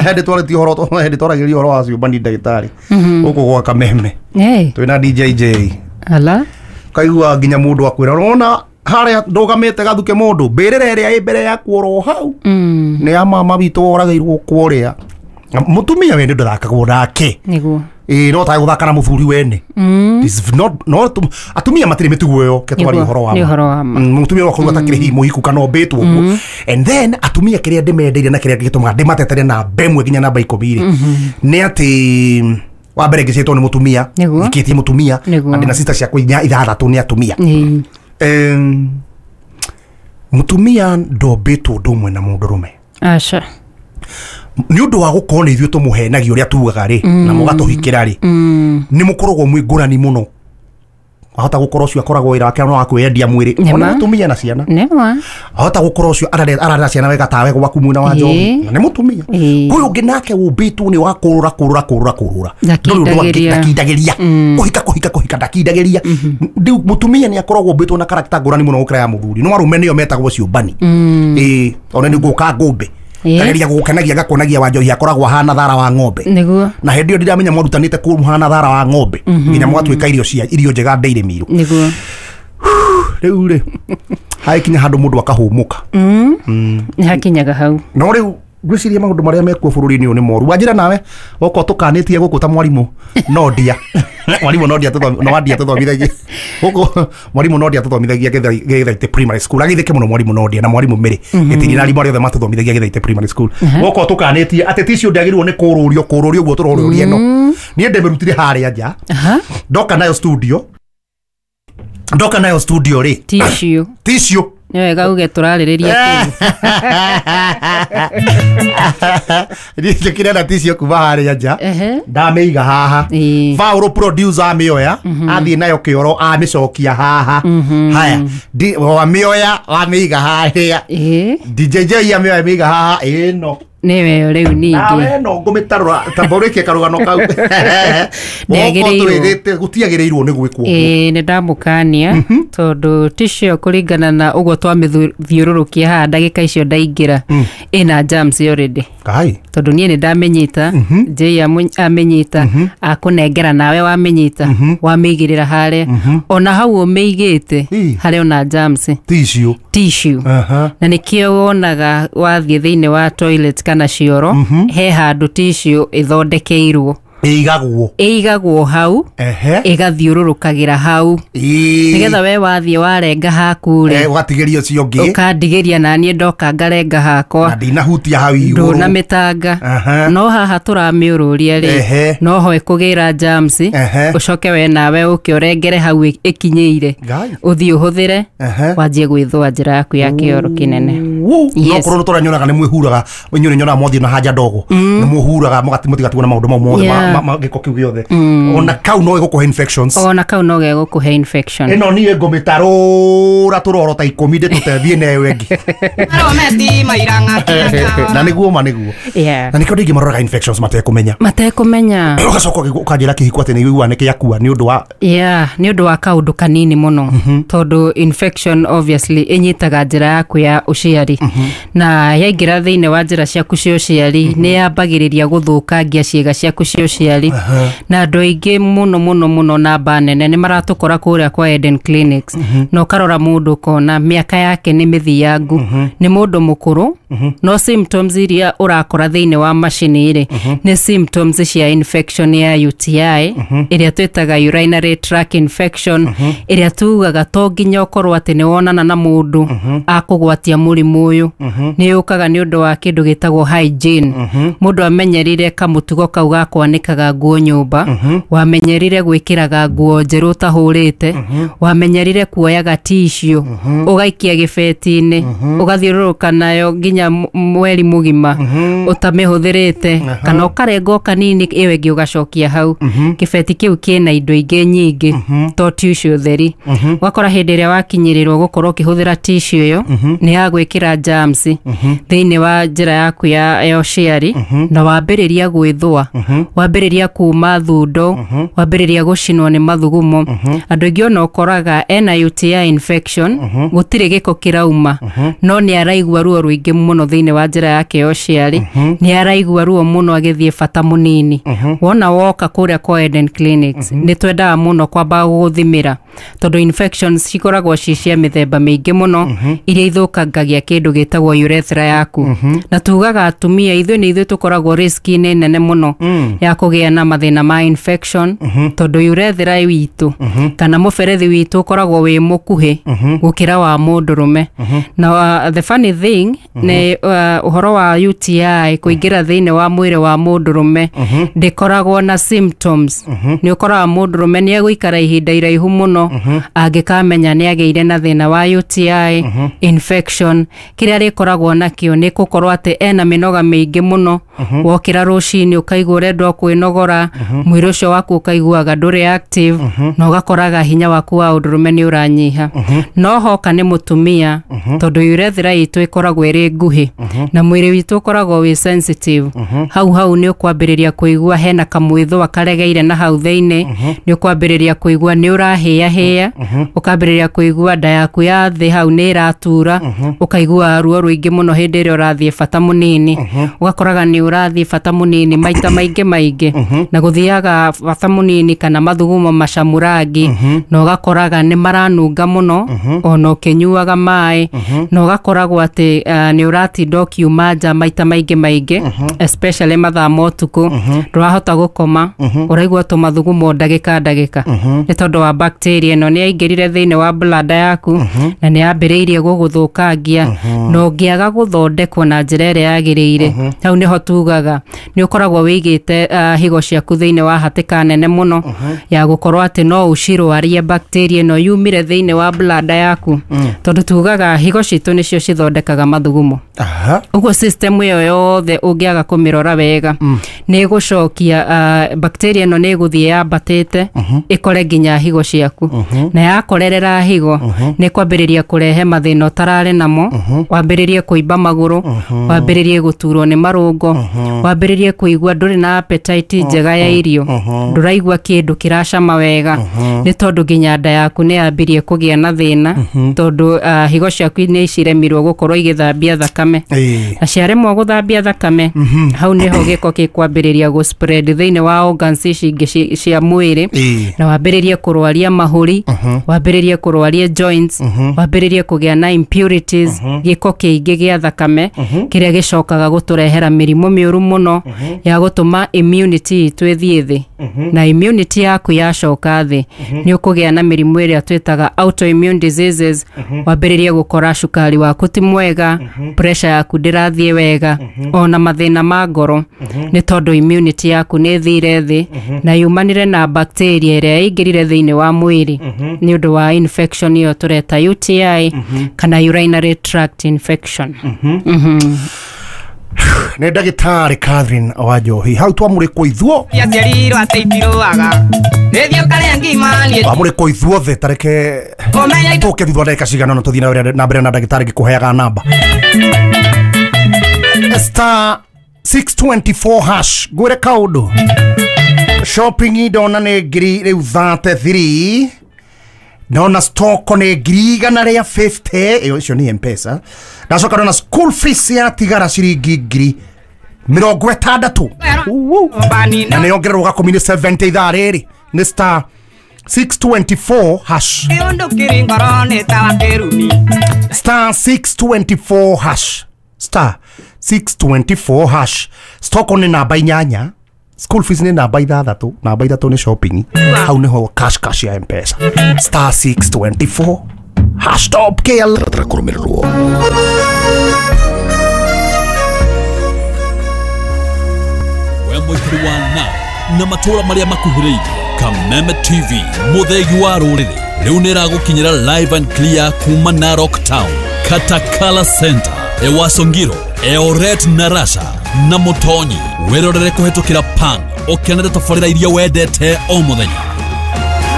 Hĩndĩ twarĩtie ũhoro, hĩndĩ twaragĩria ũhoro wa ciũmbani ndagĩtarĩ gũkũ gwa Kameme. Hey. Twĩna DJ J. Ala. Kaigua nginya mũndũ akwĩra ũrona harĩa ndũgamĩte gathuke mũndũ mbĩrĩra ĩrĩa ĩ mbere yaku oro hau nĩ ya mama witũ woragĩirwo kũrĩa. Mũtumia wene ndathakagwo nake. Nĩguo. Ĩĩ, no tage gũthaka na mũthuri wene. This is not no atumia matirĩ mĩtugo ĩyo ke twaria Nĩguo, ũhoro wa nĩ ma. ũhoro wa ma. Mũtumia wakorwo atakĩrĩ hihi mũhiku kana ũmbĩtwo ũguo. And then atumia kĩrĩa ndĩmendeire na kĩrĩa gĩtũmaga ndĩmatetere namba ĩmwe nginya namba 10 rĩ, nĩ atĩ wa mbere ngĩciĩtwo nĩ mũtumia, Nĩguo. ngĩkĩtie mũtumia, Nĩguo. na ndĩna sister ciakwa inya ithathatũ nĩ atumia. Ĩĩ. Mũtumia ndombĩtwo ũndũ ũmwe na mũndũrũme. Aca. Nĩ ũndũ wa gũkorwo nĩ ithuĩ tũmũhenagia ũrĩa tugaga rĩ, na mũgatũhikĩra rĩ, nĩ mũkoragwo mwĩ ngũrani mũno. Ahota gũkorwo ũcio akoragwo wĩra wake no wa kwĩyendia mwĩrĩ, Nĩma. ona mũtumia na ciana. Nĩma. Ahota gũkorwo ũcio ararera ciana wega tawe gwaku mwena wa njohi, Ĩĩ. na nĩ mũtumia. Ĩĩ. Ũyũ ũngĩ nake ũmbĩtwo nĩ wa kũrũra kũrũra kũrũra kũrũra. Ndũrĩ ũndũ angĩ- Ndakindagĩria. ndakindagĩria. Kũhika kũhika kũhika ndakindagĩria. Rĩu mũtumia nĩ akoragwo ũmbĩtwo na karakta ngũrani mũno gũkĩra ya mũthuri. No arũme nĩo metagwo ciũmbani. Ĩĩ, ona nĩ ngũka ngũmbe. Ĩĩ. Ngageria gũgũkenagia ngakuonagia wa njohi akoragwo ahana thara wa ng'ombe. Nĩguo. Na hĩndĩ ĩyo ndiramenya mwarutanĩte kũhana thara wa ng'ombe nginya mwatuĩka irio cia irio njega ndĩire miru. Nĩguo. Rĩu rĩ, hagĩkinya handũ mũndũ akahũmũka. Nĩ hakinyaga hau. No rĩu ngwĩciria maũndũ marĩa mekuo bũrũri-inĩ ũyũ nĩ moru. Wanjĩra nawe okorwo tũkanĩtie gũkũ ta mwarimũ no ndia. Mwarimũ no ndia no wandia tũthomithagia gũkũ, mwarimũ no ndia tũthomithagia Gĩthaitĩ primary school. Agĩthĩke mũno mwarimũ no ndia na mwarimũ Mĩrĩ gĩtiri na arimũ arĩa othe matũthomithagia Gĩthaitĩ primary school. Gũkũ tũkanĩtie atĩ ticio ndĩagĩrĩirwo nĩ kũrũrio kũrũrio ũguo tũrorũria ĩno. Niĩ ndĩmĩrutire harĩa nja. Aha. Ndoka nayo studio, ndoka nayo studio rĩ, Tissue. tissue. Nĩ wega uge tũrarĩrĩria kĩĩ. Njĩkĩre na tissue kuma harĩa nja. Ehe. Ndamĩiga haha. Ĩĩ. Paul producer amĩoya athiĩ nayo kĩoro amĩcokia haha. Haya, wamĩoya wamĩiga harĩa. Ĩĩ. DJ J amĩoya amĩiga haha ĩno. Nĩwe rĩu ningĩ. Nawe no ngũmĩtarũra tamborĩkie karũgano kau. Ndĩagĩrĩirwo. Twĩrĩte gũtiagĩrĩirwo nĩ gwĩkwo ũguo. Ĩĩ, nĩ ndamũkania tondũ tissue ĩyo kũringana na ũguo twamĩthiũrũrũkia haha ndagĩka icio ndaingĩra ĩna germs already. Kai. Tondũ niĩ nĩ ndamĩnyita, Jay amĩnyita, akũnengera nawe wamĩnyita, wamĩigĩrĩra harĩa, ona hau ũmĩigĩte Ĩ. harĩ ona germs. Tissue. Tissue. Aha. Na nĩkĩo wonaga wathiĩ thĩinĩ wa toilet kana cioro, he handũ tissue ĩthondekeirwo, Ĩigagwo. ĩigagwo hau. Ehe. Ĩgathiũrũrũkagĩra hau Ĩĩ. nĩgetha we wathiĩ warenga haku rĩ, Ũgatigĩria ũcio ũngĩ. ũkandigĩria naniĩ ndoka ngarenga Na hakwa ndinahutia hau igũrũ. ndũnamĩtanga. Aha. No haha tũramĩũrũria rĩ, Ehe. no ho ĩkũgĩra germs. Ehe. Ũcoke we nawe ũke ũrengere hau ĩkinyĩire, Ngai. ũthiĩ ũhũthĩre, Ehe. wanjie gwĩthũa njĩra yaku ya kĩoro kĩnene. Woo. No Yes. korwo tũranyonaga nĩ mwĩhuraga inyuĩ nĩ nyonaga mwathiĩ na haja ndogo nĩ mũhuraga mũtigatigwo na maũndũ mau mothe Yeah. gĩko kĩu gĩothe, ona kau no ĩgũkũhe infections. Ona kau no gegũkũhe infection. Ĩno niĩ ngũmĩtarũra tũroro ta 10 ndĩtũtethie na ĩyo ĩngĩ. Na nĩguo ma nĩguo. Yeah. Na nĩkĩo ndingĩ maroraga infections matekũmenya. Matekũmenya. Ũgacoka ũkanjĩra kĩhiko atĩ nĩ ũiguaga nĩ kĩakua nĩ ũndũ wa Yeah, nĩ ũndũ wa kaũndũ kanini mũno, tondũ infection obviously ĩnyitaga njĩra yaku ya ũciari, na yaingĩra thĩinĩ wa njĩra ciaku cia ũciari nĩ yambagĩrĩria gũthũkangia ciĩga ciaku cia ũciari. Na andũ aingĩ mũno mũno mũno, namba nene nĩ maratũkora kũrĩa kwa Eden Clinics, na ũkarora mũndũ ũkona mĩaka yake nĩ mĩthiangu, nĩ mũndũ mũkũrũ, no symptoms iria ũrakora thĩinĩ wa macini rĩ, nĩ symptoms cia infection ya UTI ĩrĩa twĩtaga urinary tract infection, ĩrĩa tugaga to nginya ũkorwo atĩ nĩ wonana na mũndũ akũgwatia mũrimũ ũyũ. Nĩ yũkaga nĩ ũndũ wa kĩndũ gĩtagwo hygiene. Mũndũ amenyerire kamũtugo kau ga kwanĩkaga nguo nyũmba, wamenyerire gwĩkĩraga nguo njerũ ũtahũrĩte, wamenyerire kuoyaga tissue ũgaikia gĩbeti-inĩ ũgathiũrũrũka nayo nginya mweri mũgima ũtamĩhũthĩrĩte, kana ũkarenga o kanini ĩyo ĩngĩ ũgacokia hau. Kĩbeti kĩu kĩna indo ingĩ nyingĩ to tissue theri. Ũgakora hĩndĩ ĩrĩa wakinyĩrĩrwo gũkorwo ũkĩhũthĩra tissue ĩyo, nĩ yagwĩkĩra germs thĩinĩ wa njĩra yaku ya ũciari, na wambĩrĩria gwĩthũa. Wambĩrĩria kuma thundo, wambĩrĩria gũcinwo nĩ mathugumo. Andũ aingĩ ona ũkoraga ena UTI infection, gũtirĩ gĩko kĩrauma, no nĩ araigua ruo rũingĩ mũno thĩinĩ wa njĩra yake ya ũciari, nĩ araigua ruo mũno agĩthiĩ bata mũnini. Wona woka kũrĩa kwa Eden Clinics, nĩ twendaga mũno kwamba gũgũthimĩra, tondũ infections cikoragwo ci cia mĩthemba mĩingĩ mũno iria ithũkangagia kĩndũ gĩtagwo urethra yaku. Na tugaga atumia ithuĩ nĩ ithuĩ tũkoragwo risk-inĩ nene mũno ya kũgĩa na mathĩna ma infection, tondũ urethra witũ kana mũberethi witũ ũkoragwo wĩ mũkuhĩ gũkĩra wa mũndũrũme. Na the funny thing nĩ ũhoro wa UTI kũingĩra thĩinĩ wa mwĩrĩ wa mũndũrũme ndĩkoragwo na symptoms. Nĩ ũkoraga mũndũrũme nĩ egũikara ihinda iraihu mũno angĩkamenya nĩ agĩire na thĩna wa UTI infection. Kĩrĩa rĩkoragwo nakĩo nĩ gũkorwo atĩ ena mĩnoga mĩingĩ mũno. Wokĩra rũcinĩ ũkaigua ũrenda kwĩnogora, mwĩrĩ ũcio waku ũkaiguaga ndũrĩ active, na ũgakoraga hinya waku wa ũndũrũme nĩ ũranyiha. No hoka nĩ mũtumia, tondũ urethra itũ ĩkoragwo ĩrĩ nguhĩ na mwĩrĩ witũ ũkoragwo wĩ sensitive, hau hau nĩ ũkwambĩrĩria kũigua hena kamwĩthũa karegeire na hau thĩinĩ, nĩ ũkwambĩrĩria kũigua nĩ ũrahĩahĩa, ũkambĩrĩria kũigua nda yaku ya thĩ hau nĩ ĩratura, ũkaigua ruo rũingĩ mũno hĩndĩ ĩrĩa ũrathiĩ bata mũnini, ũgakoraga nĩ ũrathiĩ bata mũnini maita maingĩ maingĩ, na gũthiaga bata mũnini kana mathugumo macamu rangi, na ũgakoraga nĩ maranunga mũno ona ũkĩnyuaga maĩ, na ũgakoragwo atĩ nĩ ũratinda ũkiuma nja maita maingĩ maingĩ, especially mathaa ma ũtukũ, ndũrahota gũkoma, ũraigua tũmathugumo ndagĩka ndagĩka, nĩ tondũ wa bacteria ĩno nĩ yaingĩrire thĩinĩ wa bladder yaku na nĩ yambĩrĩirie gũgũthũkangia. Na ũngĩaga gũthondekwo na njĩra ĩrĩa yagĩrĩire, hau nĩho tugaga nĩ ũkoragwo wĩigĩte higo ciaku thĩinĩ wa hatĩka nene mũno ya gũkorwo atĩ no ũcirwarie bacteria ĩno yumire thĩinĩ wa bladder yaku, tondũ tugaga higo citũ nĩcio cithondekaga mathugumo. Ũguo system ĩyo yothe ũngĩaga kũmĩrora wega, nĩ ĩgũcokia bacteria ĩno nĩ ĩgũthiĩ yambatĩte ĩkore nginya higo ciaku, na yakorerera higo nĩ kwambĩrĩria kũrehe mathĩna ũtararĩ namo, wambĩrĩrie kũimba magũrũ, wambĩrĩrie gũturwo nĩ marũngo, wambĩrĩrie kũigua ndũrĩ na appetite njega ya irio, ndũraigua kĩndũ kĩracama wega, nĩ tondũ nginya nda yaku nĩ yambirie kũgĩa na thĩna, tondũ higo ciaku nĩ ciremirwo gũkorwo igĩthambia thakame, na ciaremwo gũthambia thakame, hau nĩho gĩko gĩkwambĩrĩria gũ spread thĩinĩ wa organs ici ingĩ cia mwĩrĩ, na wambĩrĩrie kũrwaria mahũri, wambĩrĩrie kũrwaria joints, wambĩrĩrie kũgĩa na impurities, gĩko kĩingĩ gĩa thakame kĩrĩa gĩcokaga gũtũrehera mĩrimũ mĩũru mũno ya gũtũma immunity itũ ĩthiĩ thĩ. Na immunity yaku yacoka thĩ, nĩ ũkũgĩa na mĩrimũ ĩrĩa twĩtaga autoimmune diseases, wambĩrĩrie gũkora cukari waku ti mwega, pressure yaku ndĩrathiĩ wega, ona mathĩna ma ngoro, nĩ tondũ immunity yaku nĩ ĩthire thĩ na yumanire na bacteria ĩrĩa ĩingĩrire thĩinĩ wa mwĩrĩ nĩ ũndũ wa infection ĩyo tũreta UTI kana urinary tract infection. Nĩ ndagĩtarĩ Catherine Wanjohi hau twamũrĩkwo ithuo, twamũrĩkwo ithuothe, tareke tũke thutha wa ndagĩka cigana ũna tũthiĩ na mbere na ndagĩtarĩ ngĩkũheaga namba star 624 hash. Ngwĩre kaũndũ, shopping ndona nĩ ngiri rĩu 33, ndona stock nĩ 150, ĩyo icio nĩ M-Pesa. Ndacoka ndona school fees yatigara ciringi 60,000, na nĩ yongererwo gakũmi nĩ 70 ithaa rĩrĩ nĩ star 624 hash, star 624 hash, star 624 hash. Stock nĩ namba 8, school fees nĩ namba 6, namba 3 nĩ shopping, hau nĩho cash cash ya M-Pesa, star 624 hash. Top KL kũrũmĩrĩrwo. We mũikari wa na matũra marĩa makuhĩrĩirie, Kameme TV mũthegi wa rũrĩrĩ rĩu nĩ ĩragũkinyĩra live and clear kuma Narok Town, Katakala Center, Ewasongiro, Eoret na Rasha na Mũtonyi. Wĩrorere kũhetũkĩra Pang ũkenere tabarĩra iria wendete o mũthenya.